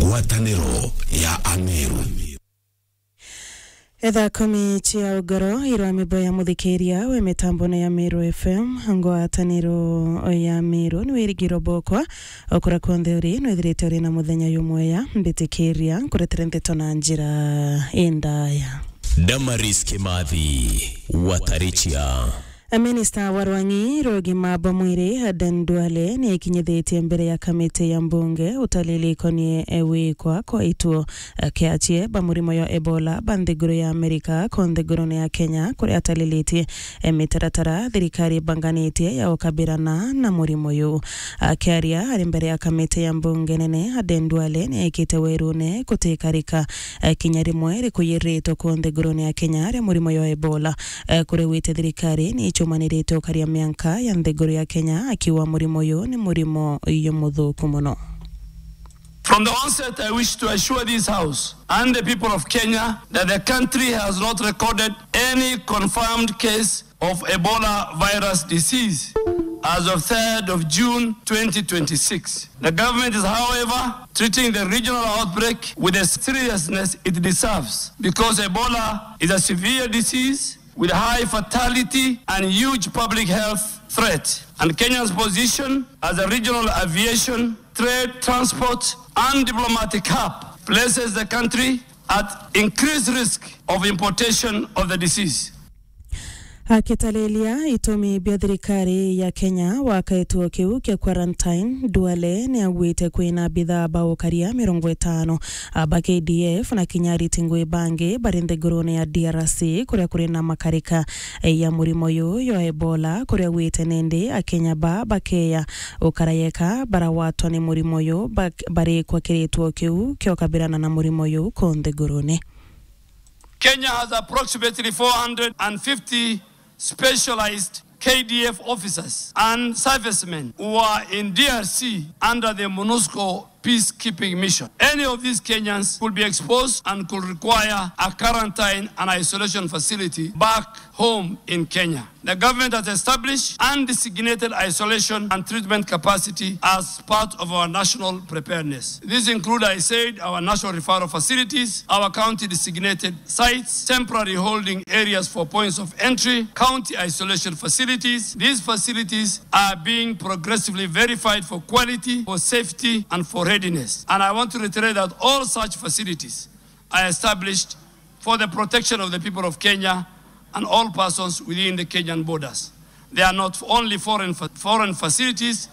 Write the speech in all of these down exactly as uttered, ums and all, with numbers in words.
Ngwataniro ya Ameru. Etha kumi cia ugoro irwa mibo ya muthikiria we mitambone ya Meru F M, ngwataniro ya Meru ni wirigiro bokwa, okura kwonthe uri, nwithirite uri na muthenya yumweya, mbitikiria nkuretere ndeto na njira indaya. Damaris Kimathi, Watarichia. Minista wa rwang'i rwa ugima bwa mwiri, Aden Duale, ni ekinyithitie mbere ya kamiti ya mbunge utalili ikonie, e, wikwa kwa ituo, e, kia achie ba murimo ya Ebola ba nthiguru ya Amerika ko nthigurune ya Kenya, kuria atalilitie, e, mitaratara thirikari ibanganitie ya ukabirana na murimo uyu. Akiaria ari mbere ya kamiti ya mbunge nene, Aden Duale ni ekite werune gutikarika, e, kinya rimwe rikuyiritwe ku nthigurune ya Kenya ria murimo ya Ebola. Eh, kuri wite thirikari ni icumanirite ukaria mianka ya nthiguru ya Kenya, akiuga murimo uyu ni murimo uyu muthuku muno. From the onset, I wish to assure this House and the people of Kenya that the country has not recorded any confirmed case of Ebola virus disease as of third of June twenty twenty-six. The government is, however, treating the regional outbreak with the seriousness it deserves because Ebola is a severe disease with high fatality and huge public health threat. And Kenya's position as a regional aviation, trade, transport, and diplomatic hub places the country at increased risk of importation of the disease. Akitariria itumi bia thirikari ya Kenya wa kituo kiu kia quarantine, Duale ni augite kwina bithaa ba ukaria mirongo itano ba K D F na kinya ariti ngui bangi bari nthigurune ya D R C, kuria kuri na makarika ya murimo uyu ya Ebola, kuria augite nindi Akenya ba bakeya ukarayeka baragwatwa ni murimo uyu bak-, barikwa kiri gituo kiu kia ukabirana na murimo uyu ku nthigurune. Kenya has approximately four hundred and fifty specialized K D F officers and servicemen who are in D R C under the MONUSCO peacekeeping mission. Any of these Kenyans could be exposed and could require a quarantine and isolation facility back home in Kenya. The government has established undesignated isolation and treatment capacity as part of our national preparedness. These include, I said, our national referral facilities, our county designated sites, temporary holding areas for points of entry, county isolation facilities. These facilities are being progressively verified for quality, for safety, and for readiness. And I want to reiterate that all such facilities are established for the protection of the people of Kenya and all persons within the Kenyan borders. They are not only foreign fa-, foreign facilities.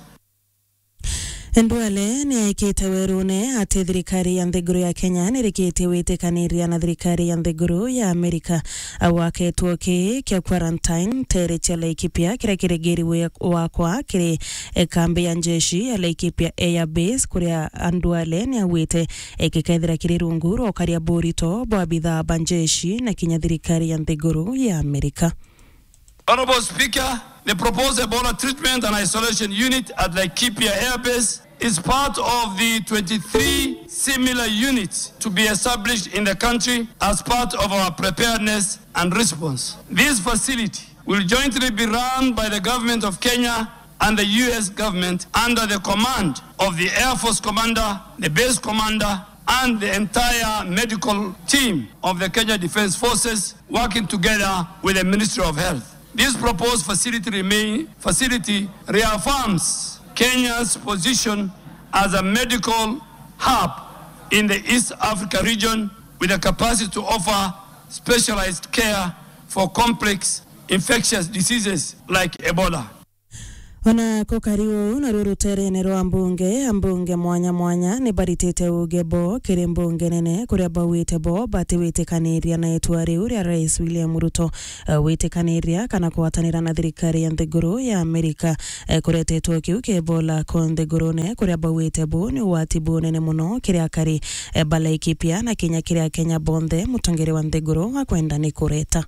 Duale ni aikite werune ati thirikari ya nthiguru ya Kenya ni irikitie witikaniria na thirikari ya nthiguru ya Amerika gwaka gituo ki kia quarantine tere cia Laikipia, kiria kiri ngiri wakwa kiri, e, kambi ya njeshi ya Laikipia Air Base, kuria Duale ni augite, e, gikethira kiri rungu rwa ukaria burito bwa bithaa ba njeshi na kinya thirikari ya nthiguru ya Amerika. Honorable Speaker, the proposed Ebola treatment and isolation unit at Laikipia Air Base is part of the twenty-three similar units to be established in the country as part of our preparedness and response. This facility will jointly be run by the Government of Kenya and the U S government under the command of the Air Force Commander, the base commander, and the entire medical team of the Kenya Defence Forces, working together with the Ministry of Health. This proposed facility remain, facility reaffirms Kenya's position as a medical hub in the East Africa region with the capacity to offer specialized care for complex infectious diseases like Ebola. Ona kukari uu, naruo ruterene rwa mbunge, ambunge mwanya mwanya ni baritite uge bo kiri mbunge nene, kuria bauite bo batiwitikaniria na itua riu ria Rais William Ruto, eh, witikaniria kana kugwatanira na thirikari ya nthiguru ya Amerika, eh, kureta gituo kiu kia Ebola ku nthigurune, kuria bauite bu ni ugwati bunene muno kiri akari, eh, ba Laikipia na kinya kiri Akenya bonthe, mutongeria wa nthiguru akwenda ni kureta.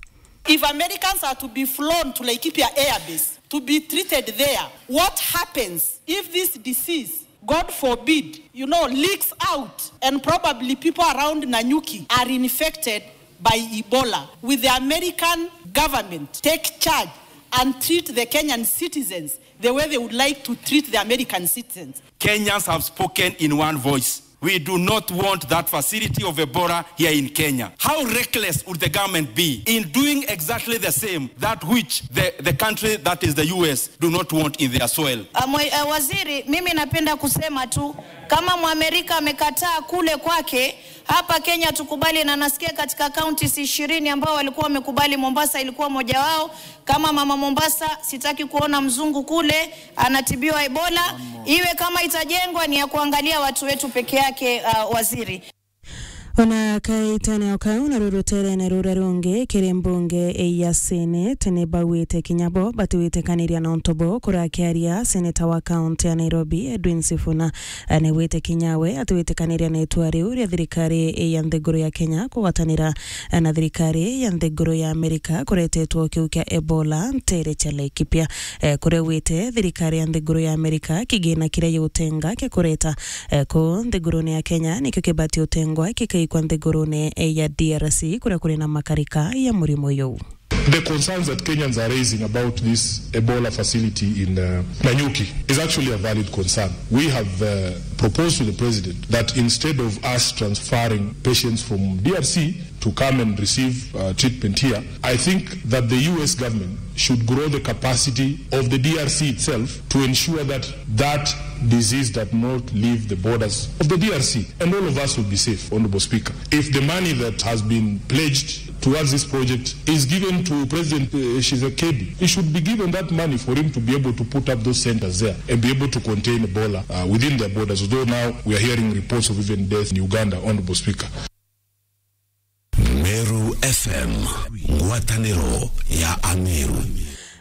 If Americans are to be flown to Laikipia Air Base to be treated there, what happens if this disease, God forbid, you know, leaks out and probably people around Nanyuki are infected by Ebola? Will the American government take charge and treat the Kenyan citizens the way they would like to treat the American citizens? Kenyans have spoken in one voice. We do not want that facility of Ebola here in Kenya. How reckless would the government be in doing exactly the same that which the, the country, that is the U S, do not want in their soil? Ah, mwe-, eh, waziri, mimi napenda kusema tu, kama Mwamerika amekataa kule kwake, hapa Kenya tukubali, na nasikia katika counties ishirini ambao walikuwa wamekubali, Mombasa ilikuwa moja wao. Kama mama Mombasa, sitaki kuona mzungu kule anatibiwa Ebola. Iwe kama itajengwa ni ya kuangalia watu wetu peke yake, ah, waziri. Ona kaitene o kau, na ruruterene ruria rungi kiri mbunge ya Senate, ni bauite kinya bo batiwitikaniria na untu bo kurakiaria seneta wa kaunti ya Nairobi, Edwin Sifuna. Eh, ni wite kinya we atiwitikaniria na itua riu ria thirikari ya nthiguru ya Kenya kugwatanira, eh, na thirikari ya nthiguru ya Amerika kuretetwo kiu kia Ebola ntere cia Laikipia. Eh, kuria wite thirikari ya nthiguru ya Amerika kigina kiria yutenga kia kureta, eh, ku nthigurune ya Kenya nikio kibati utengwa kikaikwa nthigurune, eh, ya D R C kuria kuri na makarika ya murimo yuu. The concerns that Kenyans are raising about this Ebola facility in, uh, Nanyuki is actually a valid concern. We have, uh, proposed to the president that instead of us transferring patients from D R C to come and receive, uh, treatment here, I think that the U S government should grow the capacity of the D R C itself to ensure that that disease does not leave the borders of the D R C, and all of us will be safe, Honorable Speaker. If the money that has been pledged towards this project is given to President, uh, Tshisekedi, he should be given that money for him to be able to put up those centers there and be able to contain Ebola, uh, within their borders, although now we are hearing reports of even death in Uganda, Honorable Speaker. Meru F M, ngwataniro ya Ameru.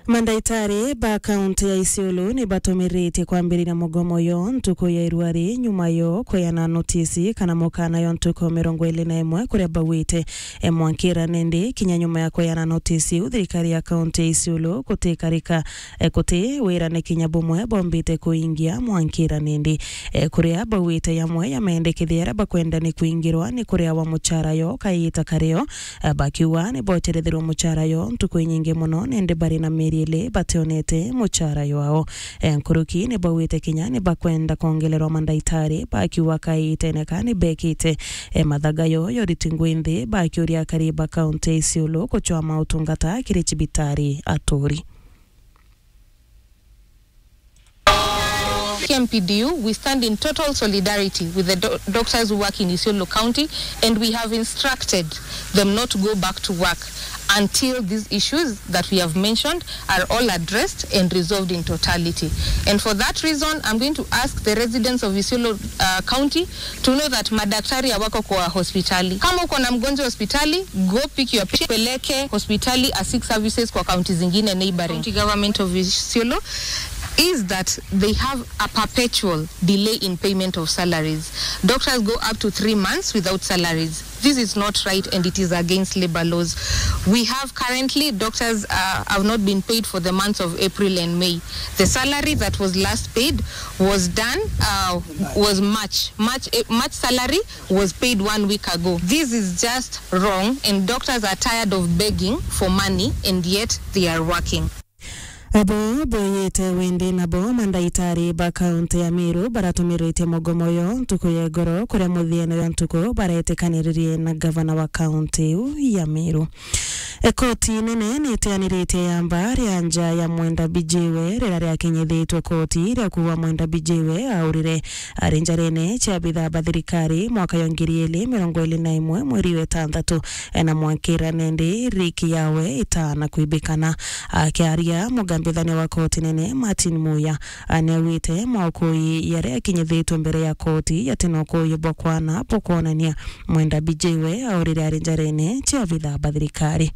Mandaitari ba kaunti ya Isiolo ni batumiritie kwambiriria mugomo yo ntuku ya irua ri nyuma yo kweana notisi kana mukana yo ntuku mirongo iri na imwe kuria bauite, e, mwankira nindi kinya nyuma ya kweana notisi iu, thirikari ya kaunti ya Isiolo gutikarika, e, guti wirane kinya bumwe bombite kuingia mwankira nindi. E, kuria bauite yamwe ya mendekithia aria bakwenda ni kuingirwa ni kuriawa muchara yo kaita kario, e, bakiuga ni bocherethirwe muchara yo ntuku inyingi mono, nindi bari na mieri ili bationete muchara yao. E, nkuruki ni bauite kinya ni bakwenda kongelerwa mandaitari, bakiuga kaitene ka ni bekite, e, mathaga yo yoriti ngwi nthi, bakiuria akari ba kaunti ya Isiolo kuchwama utungata kiri cibitari aturi. K M P D U, we stand in total solidarity with the do-, doctors who work in Isiolo County, and we have instructed them not to go back to work until these issues that we have mentioned are all addressed and resolved in totality. And for that reason, I'm going to ask the residents of Isiolo, uh, County to know that madaktari hawako kwa hospitali. Kama uko na mgonjwa hospitali, go pick your patient, peleke hospitali, a seek services kwa county zingine neighboring. County government of Isiolo is that they have a perpetual delay in payment of salaries. Doctors go up to three months without salaries. This is not right and it is against labor laws. We have currently doctors, uh, have not been paid for the months of April and May. The salary that was last paid was done, uh, was March. March, eh, March salary was paid one week ago. This is just wrong, and doctors are tired of begging for money, and yet they are working. Abo boyete windi nabo mandaitari ba kaunti ya Meru baratumirite mugomo yo ntuku ya igoro, kuria muthiene yo ntuku baretikaniririe na gavana wa kaunti iu ya Meru. E, koti nene nitianiritie yamba ria nja ya Mwenda Bijiwe, riria riakinyithitwe koti ria kuuga Mwenda Bijiwe aurire ari njarene cia abitha ba thirikari mwaka yo ngiri ili mirongo ili na imwe mweri wa itantatu, e, na mwankira nindi riki yawe itana kwibikana. Akiaria mugambithania wa koti nene Martin Muya, a, niaugite maukui yaria akinyithitwe mbere ya koti yati na ukui bwa kwana bwa kwonania Mwenda Bijiwe aurire ari njarene cia abitha ba thirikari.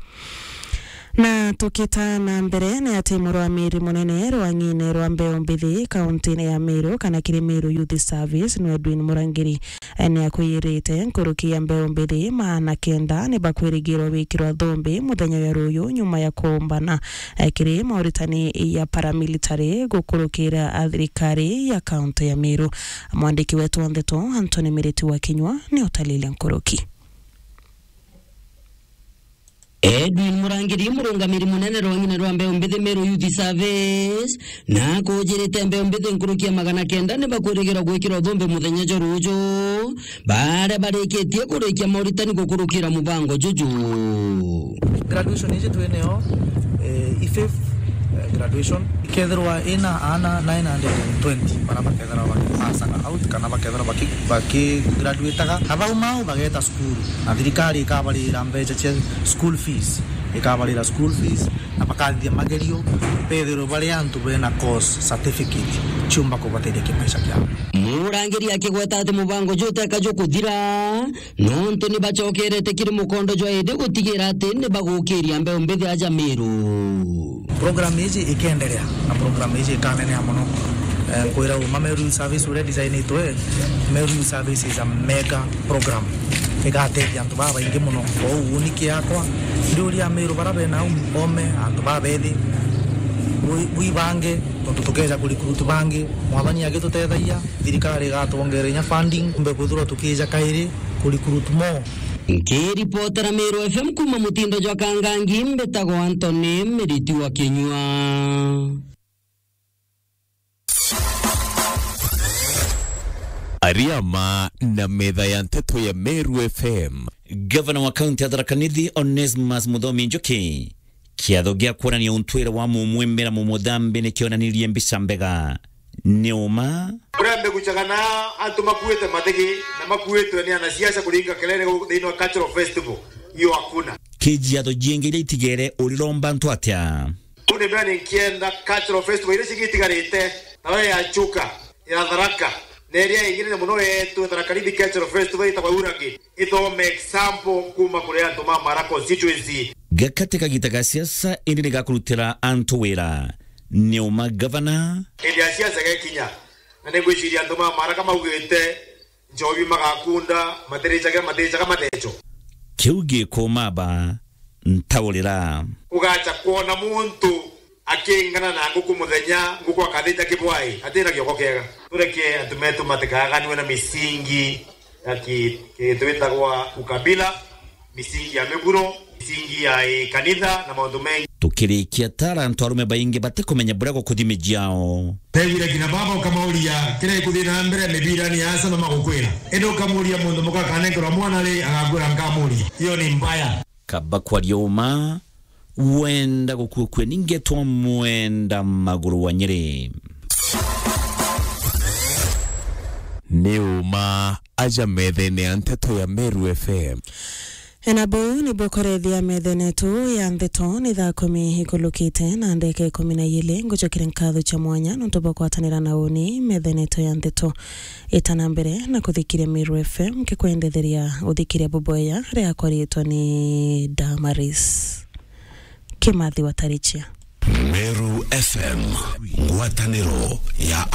Na tukita na mbere, ni ati murwamiri munene rwang'ine rwa mbeu mbithi kauntine ya Meru, kana kiri Meru Youth Service, ni Edwin Murangiri, e, ni akwirite nkuruki ya mbeu mbithi maana kenda ni bakwirigirwa wikirwa thumbi muthenya wa ruyu nyuma ya kuumbana, e, kiri mauritani ya paramilitary gukurukira a thirikari ya kaunti ya Meru. Mwandiki wetu wa ndeto Anthony Miriti wa Kinyua ni utalile nkuruki. Edwin Murangiri, murungamiri munene rwa ng'ina rwa mbeu mbithi Meru Youth Service, na akujirite mbeu mbithi nkuruki ya magana kenda ni bakwirigirwa gwikira uthumbi muthenya jwa ruju, baria barikitie kurikia mauritani gukurukira mubango juju. Graduation iji twi nayo, eh, i fifth, eh, graduation. Ikethirwa ina aana nine hundred and twenty, bara bakethirwa bakipassaga out kana bakethirwa baki-, bakigraduataga. Na bau mau bageta cukuru. Na thirikari ikabarira mbeca cia school fees. Ikabarira school fees, na bakathithia magerio, bethirwe bari antu bena course certificate, ciumba kubateithia kimaisha kiao. Murangiri akigweta ati mubango juu uteka jukuthira, nontu ni bacokerete kiri mukondo jwa indi gutigira ati ni bagukiria mbeu mbithi aja Meru. Program iji ikenderea, na program iji ikaneneha mono. Eh, nkwira uma Meru Youth Service uria designitwe, Meru Youth Service is a mega program. Igatethia antu babaingi mono. Kwou uni kiakwa, ndiuria Meru bara bena um-, ome, antu babethi, bwi-, bwibange, tontu tukeja kurecruit bangi, Mwathani agitutethagia, thirikari igatwongera inya funding, tumbe kwithirwa tukija kairi kurecruit more. Nkiripotera Meru F M kuma mutindo jwa Kangangi, mbitagwa Anthony Miriti wa Kinyua. Ariama na metha ya nteto ya Meru F M. Gavana wa kaunti ya Tharaka Nithi, Onesmus Muthomi Njuki, kiatho gia kuonania untwire wa mumwimira mumuthambi ni kionanirie mbica mbega. Ni uma? Urembe gucagana antu makuite mathigi na makuitwe ni anasiasa kuringa kelele thiini wa cultural festival. Hiyo hakuna. Kijiatho jiingi iria itigere uriromba antu atia? Uni mbere ni nkienda cultural festival iria cigitigarite, nayo ya Chuka, ya Tharaka, na iria ingine mono yetu Tharaka Nithi Cultural Festival itagwa Uragi, ithome example kuma kuri antu ma Mara constituency. Gakati kagita ga siasa indi ni gakurutira antu wira. Ni uma gavana? Indi ya siasa gekinya, na ni ngwiciria antu ma Mara kamaugite, njobi magakunda, matiricaga, matiricaga mateco. Kiu gikuma ba ntaurira. Ugacha kwona muntu akingana na nguku muthenya, nguku akathija kibwai, atina kioko kiega. Tureke antu metu matikaganwe na misingi ya ki-, ki-, twitagwa ukabila, misingi ya miguro, misingi ya, eh, kanitha na maundu mengi. Tukirikia tara antu arume baingi batikumenya buria gukuthi miji yao. Tegwire kina baba ukamauria, kiria ikuthi na mbere mibirani ya Arsenal magukwira. Indi ukamuria mundu muka akanenkerwa mwana ri, agakwira nkamuria. Hiyo ni mbaya. Kaba kwaria uma, wenda gukua kue ningetwa mwenda maguru wa Nyeri. Ni uma aja methene ya nteto ya Meru F M. Ena buu nibukurethia metha netu ya ntheto ni thaa kumi ikulukite na ndeka ikumi na ijiri. Ngucokere nkatho cia mwanya nontu bwa kwatanira na uni metha netu ya ntheto. Itana mbere na kuthikiria Meru F M, nkikwendetheria uthikiria buboya riakwa riitwa ni Damaris Kimathi wa Tarichia. Meru F M, ngwataniro ya